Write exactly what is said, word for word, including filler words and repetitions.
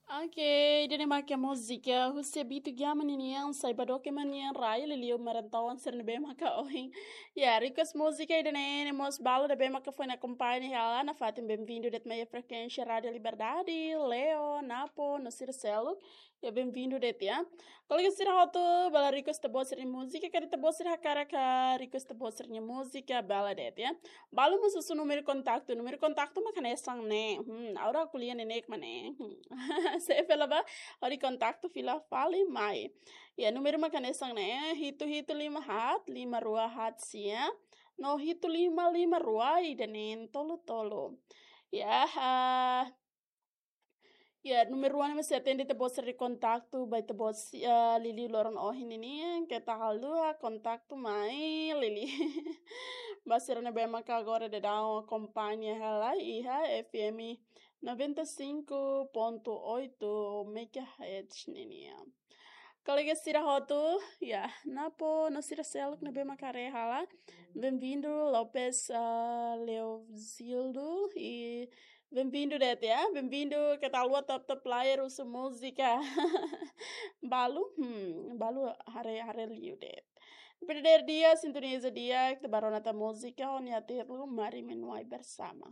Ok, ida-ne'e mak múzika husi Bitu Giaman ninian, sai ba doke manian rai liuliu marantauan sira ne'ebé maka ohin. Ya, request múzika ida-ne'e, ne'e mós balu ne'ebé maka foin akompaña hela nafatin, bem-vindo de'it mai frekuénsia Rádio Liberdade, Leo, Napo, no sira seluk. Ya, bem-vindo de'it ya. Kolega sira hotu, bele request ita-boot sira-nia múzika, karik ita-boot sira hakarak request ita-boot sira-nia múzika, bele de'it ya. Balu mós husu númeru kontaktu, númeru kontaktu mak hanesan ne'e. Hmm, agora aku lian ne'e mak ne'e. Hmm. Se fila ba, hodi kontaktu fila fali mai. Ya, númeru mak hanesan ne'e, hitu hitu lima haat, lima rua haat sia. No hitu lima lima rua ida neen tolu tolu. Ya, ah, ya, númeru rua ne'e mesti atende ita-boot sira-nia kontaktu, ba ita-boot si-, ah, liuliu loron ohin ninian, keta haluha kontaktu mai liuliu. Ba sira ne'ebé maka agora daudaun akompaña hela iha F M noventa e cinco ponto oito megahertz ninian. Kolega sira hotu, ya, Napo, no sira seluk ne'ebé maka haree hela. Bem-vindo, Lopes, ah, Leozildo, e bem-vindo de'it ya, bem-vindo, keta haluha top top player husu múzika. Balu, hmm, balu haree, haree liu de'it. Perder dia, sintoniza di'ak, ita bá rona tan múzika, ho nia títulu Mari Menuai Bersama.